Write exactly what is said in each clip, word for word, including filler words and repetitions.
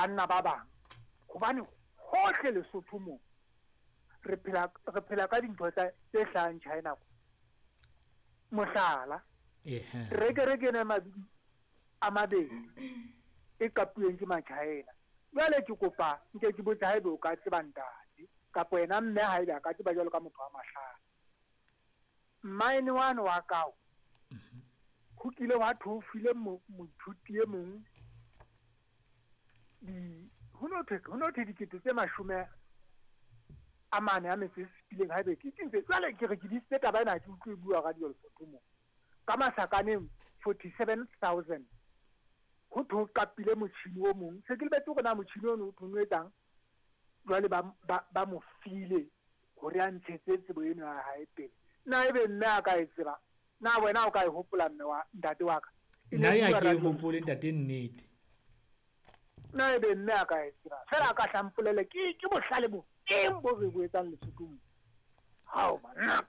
Banna ba bang hobane hohle Lesotho mo re phela re phela ka dintho tsa tse hlahang China. Mohlala, terekere ke ena mabidi a mabedi e qapuweng ke ma-China. Jwale ke kopa nke ke botse haebe o ka tseba ntate kapa wena mme haebe a ka tseba jwalo ka motho wa mahlale. Mine wane wa kao ho kile hwa thwe o file moithuti e mong di ho no thwe ho no thwe dikete tse mashome a mane a metso e supileng haebe ke ke ntse jwale ke re ke disitse taba ena ha ke utlwe e bua radio Lesotho mo ka masakaneng forty-seven thousand ho thwe o qapile motjhini o mong se ke lebetse hore na motjhini ono o thwe o etsang jwale ba ba ba mo file hore a ntshetse tsebo eno ya hae pele. Na ebe mme a ka e tseba? Na wena o ka e hopola mme wa ntate wa ka? Nna ya ke e hopole ntate nnete. Na ebe mme a ka e tseba? Fela a ka hlampolele ke ke bohlale bo eng bo re bo etsang Lesothong. Hao banna.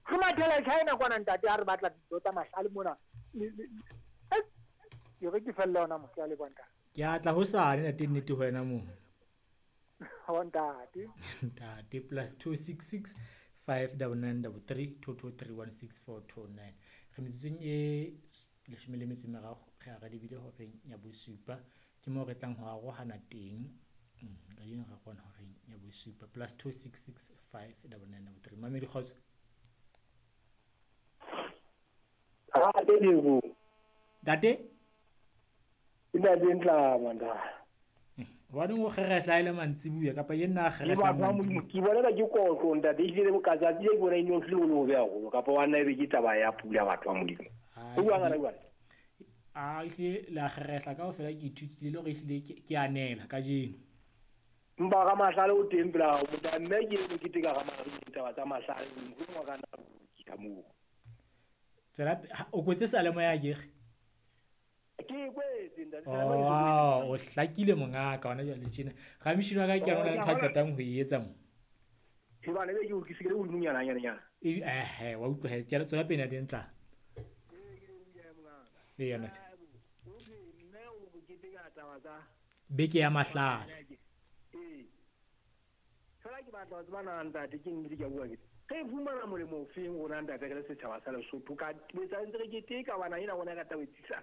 Re mathela China kwana ntate ha re batla dintho tsa mahlale mona. Ke re ke felle hona mo ke a leboha ntate. Ke a tla hosane ntate nnete ho wena mo. Ho ntate. Ntate plus two six six five double nine double three two two three one six four two nine. Re metsotsong e leshome le metso e meraro re a re lebile horeng ya bosupa ke moo re tlang ho arohana teng. Kajeno re kgona horeng ya bosupa plus two six six five double nine double three. Mamedi kgotso. Ntate? Ntate Ntlama ntate. Hobaneng o kgerehla e le mantsibuya kapa ye nna a kgerehla mantsibuya? Ke bona ke kotlo ntate ehlile bokatsatsi le bona e no hlile o le hobe haholo kapa wa nna ebe ke taba ya pula batho ba Modimo. O bua ngana jwale? A ehlile la kgerehla kaofela ke ithutile le hore ehlile ke a nela kajeno. Mpa ga mahlale o teng pela hao mota mme ke eno ke teka ga mahlale taba tsa mahlale mohlomong wa kana ke ka moo. Tsela o kwetse salemoya akere? Ke kwetse ntate. Oh, o hlakile mongaka hona jwale tjena. Ramishini wa ka ke yona ntho a qetang ho e etsa mo. Ke bana be ke o ke le hodimonyana nyana nyana. Eh eh wa utlwa he ke tswela pele teng tla. Ee yona. Beke ya mahlale. Ee. Fela ke batla ho tseba na ntate ke nnete ke a bua ke. Re fumana molemo ofeng rona ntate re le setjhaba sa Lesotho ka betsa ntse re keteka bana ena rona ka taba etsisa.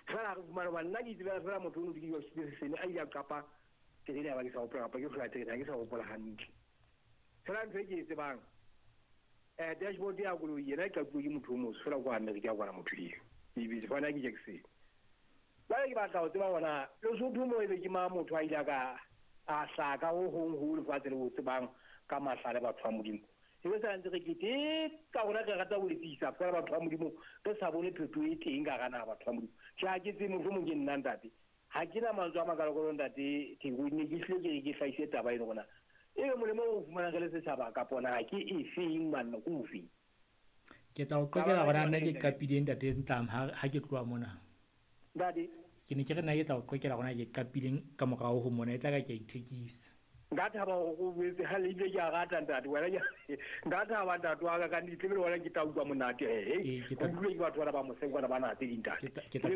Fela re fumana ba nna ke tsebela fela motho o no ke ke sene a ile a qapa terene ya ba ke sa hopola kapa ke hlola terene ha ke sa hopola hantle. Fela ntho e ke e tsebang eh dashboard ya koloi yena e qapuwe ke motho o motsho fela kwa America kwana motho eo. Ebile fana ke Jackson. Jwale ke batla ho tseba hona Lesotho mo ebe ke mang motho a ile ka a hlaka ho hong ho lefatshe le ho tsebang ka mahlale batho ba Modimo. E sa ntse re keteka rona re rata ho etsisa fela batho ba Modimo re sa bone phetoho e teng ka hara naha batho ba Modimo. Tjhe ha ke tsebe mohlomong ke nna ntate. Ha ke na mantswe a makalokalo ntate Theko ne ke hlile ke ke hlahise taba eno rona. Ebe molemo o fumanang re le setjhaba kapa na ke efeng manna ke ofeng? Ke tla o qoqela hore nna ke qapile ntate Ntlama ha ke tloha mona. Ntate ke ne ke re nna ke tla o qoqela hore ke qapileng ka morao ho mona e tla ka ke a ithekisa. Nka thaba hore o boetse ha le ile ke a rata ntate wena ke nka thaba ntate wa ka ka nnete le wena ke tla utlwa monate he. Ke tla utlwe ke batho bana ba moseng kwana ba na tse ding ntate. Ke tla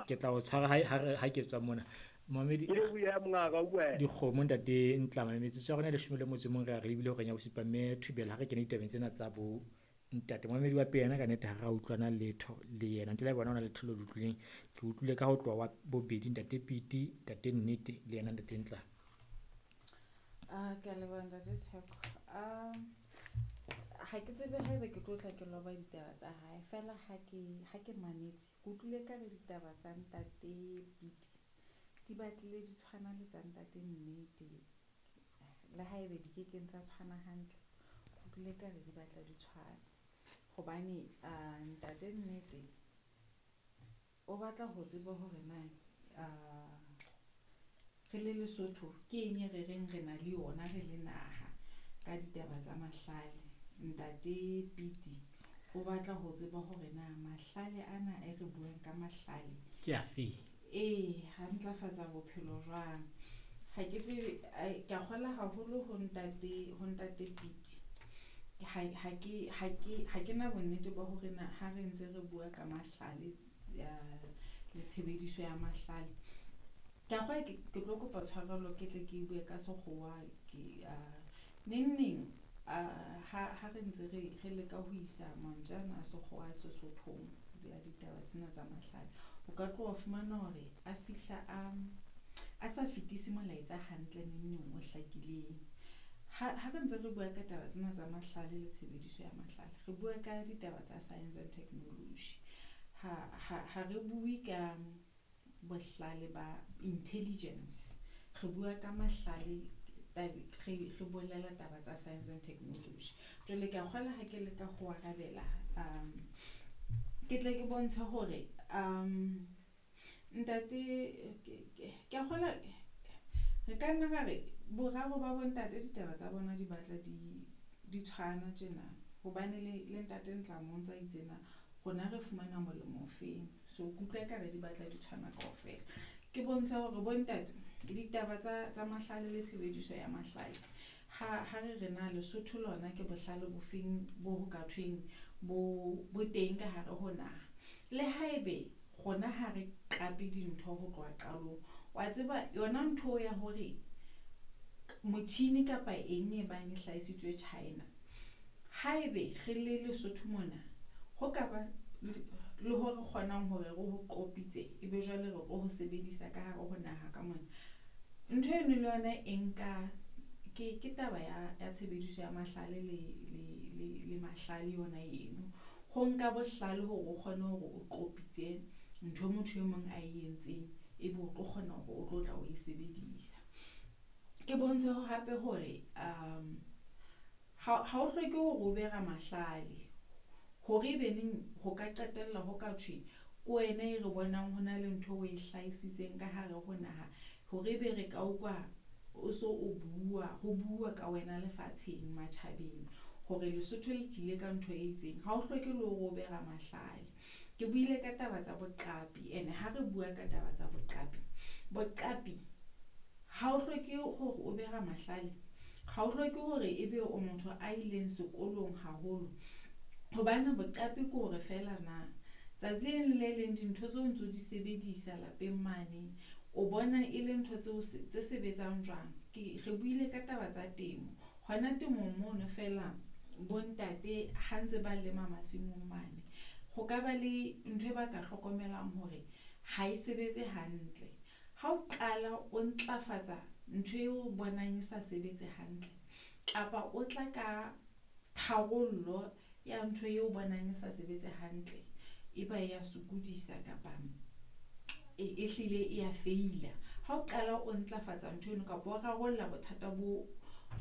ke tla o tshwara ha ha ke tswa mona. Mamedi ke le buya mongaka o bua. Dikgomo ntate Ntlama metsotso ya rona leshome le motso mong re a re lebile hore ya bosupa mme Thubela ha re kene ditabeng tsena tsa bo ntate Mamedi wa pele yena ka nnete ha ra utlwana letho le yena ntle le bona ona letho le utlwileng ke utlwile ka ho tloha wa bobedi ntate Piti ntate Nnete le yena ntate Ntlama. Ah ke a leboha ntate Theko. Um ha ke tsebe haebe ke tlo tla ke loba ditaba tsa hae fela ha ke ha ke mametse ke utlwile ka re ditaba tsa ntate Piti di batlile di tshwana le tsa ntate Nnete le haebe di kekeng tsa tshwana hantle ke utlwile ka re di batla di tshwana hobane uh, ntate Nnete o batla ho tseba hore na uh, re le Lesotho ke eng e re reng re na le yona re le naha ka ditaba tsa mahlale. Ntate Piti o batla ho tseba hore na mahlale ana e re buang ka mahlale ke afe ee ha ntlafatsa bophelo jwang. Ha ke tsebe ke a kgola haholo ho ntate ho ntate Piti ha ha ke ha ke ha ke na bonnete ba hore na ha re ntse re bua ka mahlale le tshebediso ya mahlale Ke a kgolwa ke ke tlo kopa tshwarelo ke tle ke bue ka sekgowa ke uh, neng neng uh, ha ha re ntse re re leka ho isa mantswe ana a sekgowa a Sesothong ya ditaba tsena tsa mahlale, o ka tloha fumana hore a fihla a a sa fetise molaetsa hantle neng neng o hlakileng. Ha ha re ntse re bua ka taba tsena tsa mahlale le tshebediso ya mahlale, re bua ka ditaba tsa science and technology. Ha ha ha re bue ka bohlale ba intelligence, re bua ka mahlale tabe re re bolela taba tsa science and technology. Jwale ke a kgolwa ha ke leka ho arabela um ke tle ke bontshe hore um ntate ke ke a kgolwa re ka nna ra re boraro ba bontate ditaba tsa bona di batla di di tshwana tjena, hobane le le ntate Ntlamo o ntsa itsena rona re fumana molemo ofeng. So ke utlwa ekare di batla di tshwana kaofela. Ke bontsha hore bontate ditaba tsa tsa mahlale le tshebediso ya mahlale ha ha re re na Lesotho lona ke bohlale bofeng bo ho ka thweng bo bo teng ka hare ho naha. Le haebe rona ha re qape dintho ho tloha qalong, wa tseba yona ntho ya hore motjhini kapa eng e bang e hlahisitswe China, haebe re le Lesotho mona ho ka ba le hore re kgonang hore re ho qopitse ebe jwale re tlo ho sebedisa ka hare ho naha ka mona. Ntho eno le yona e nka ke ke taba ya ya tshebediso ya mahlale le le le le mahlale yona eno. Ho nka bohlale hore o kgone hore o qopitse ntho motho e mong a e entseng, ebe o tlo kgona hore o tlo tla o e sebedisa. Ke bontshe hape hore um ha ha o hloke hore o be ramahlale hore ebe neng ho ka qetella ho ka thwe ke wena e re bonang ho na le ntho o e hlahisitseng ka hare ho naha, hore ebe re ka utlwa o so o bua ho bua ka wena lefatsheng matjhabeng hore Lesotho le tlile ka ntho e itseng. Ha o hloke le hore o be ramahlale. Ke buile ka taba tsa boqapi, ene ha re bua ka taba tsa boqapi, boqapi ha o hloke hore o be ramahlale, ha o hloke hore ebe o motho a ileng sekolong haholo, hobane boqapi ke hore feela na tsatsi le leng le leng dintho tseo ntso di sebedisa lapeng mane o bona e le ntho tseo tse sebetsang jwang. Ke re buile ka taba tsa temo, hona temong mono feela bontate ha ntse ba lema masimong mane, ho ka ba le ntho e ba ka hlokomelang hore ha e sebetse hantle. Ha o qala o ntlafatsa ntho eo o bonang e sa sebetse hantle, kapa o tla ka tharollo ya ntho eo o bonang e sa sebetse hantle, e ba ya sokodisa kapa e e hlile e ya feila. Ha o qala o ntlafatsa ntho eno kapa o rarolla bothata bo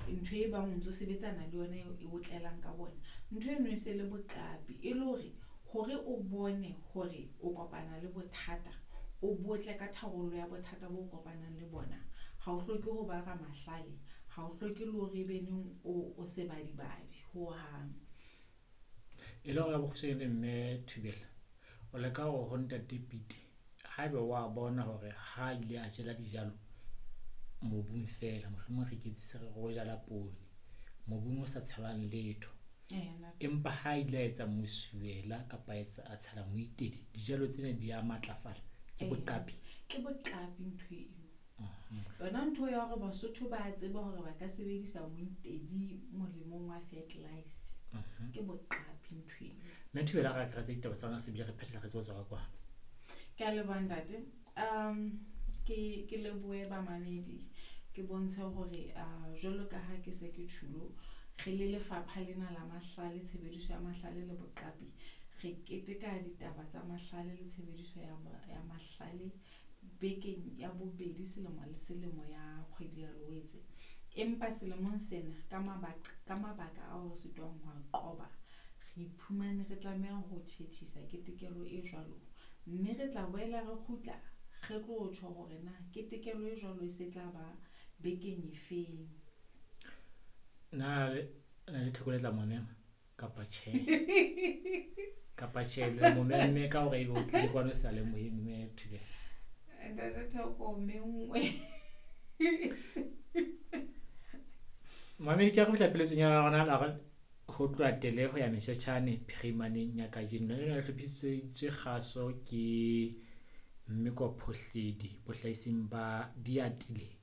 ntho e bang o ntso sebetsana le yona e o tlelang ka bona, ntho eno e se le boqapi. E le hore hore o bone hore o kopana le bothata, o botle ka tharollo ya bothata bo kopanang le bona. Ha o hloke ho ba ramahlale, ha o hloke le hore ebe neng o o sebadibadi hohang. E le hore ka bokgutshwanyane mme Thubela, o leka hore ho ntate Pete haebe wa bona hore ha ile a jela dijalo mobung feela, mohlomong re iketsise re re o jala poone mobung o sa tshelwang letho, empa ha ile a etsa mosuwela kapa etsa a tshela moitedi, dijalo tsena di a matlafala. Ke boqapi, ke boqapi ntho eo. Yona ntho ya hore Basotho ba tseba hore ba ka sebedisa moitedi molemong wa fertilizer, ke boqapi ntho eo. Mme Thubela, re akaretsa ditaba tsa rona se bile re phethela re tsebe ho tswa ka kwano. Ke a leboha ntate. Um ke ke lebohe bamamedi, ke bontshe hore uh, jwalo ka ha ke se ke tjhulo, re le lefapha lena la mahlale, tshebediso ya mahlale le boqapi, re keteka ditaba tsa mahlale le tshebediso ya ya mahlale bekeng ya bobedi selemo le selemo ya kgwedi ya Loetse. Empa selemong sena ka mabaka ka mabaka ao re sitwang ho a qoba, re iphumane re tlameha ho tjhetjhisa ketekelo e jwalo, mme re tla boela re kgutla re tlo tjho hore na ketekelo e jwalo e se tla ba bekeng efeng. Na le na le Theko le tla mo mema kapa tjhe? Kapa tjhe, le mo memme ka hore ebe o tlile kwano sa lemohe mme Thubela. Ntate Theko menngwe. Mamedi, ke a re fihla peletsong ya rona la re ho tloha tele ho ya Meshetjhane phirimaneng ya kajeno. Lena le hlophisitswe kgaso ke Mme kwa Phohledi bohlaising ba Diatile.